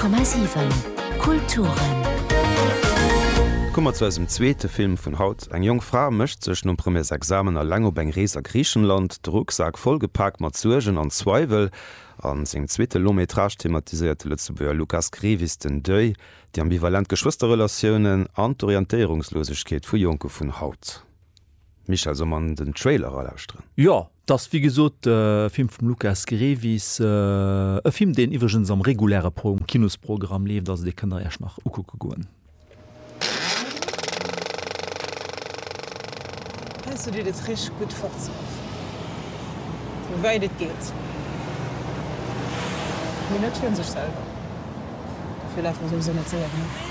100,7 Kulturen. Komme mer zu eisem zweete Film vun haut. Eng jonk Fra mécht sech nom Premièresexamen eleng op eng Rees a Griichenland, de Rucksak vollgepak mat Suergen an Zweiwel. A sengem zweete Long-métrage thematiséiert de Lëtzebuerger Lukas Grevis den Deuil, déi ambivalent Geschwësterrelatiounen an d'Orientéierungslosegkeet vu Jonke vun haut. Michèle, solle mer an den Trailer eralauschteren? Jo, 't ass wéi gesot e Film vum Lukas Grevis, e Film deen iwwregens am reguläre Kinosprogramm leeft, also dee kënnt der Iech nach ukucke goen. Heiansdo deet et richteg gutt fortzelafen, sou wäit et geet, mee net fir sech selwer, dofir lafe mer souwisou net séier genuch.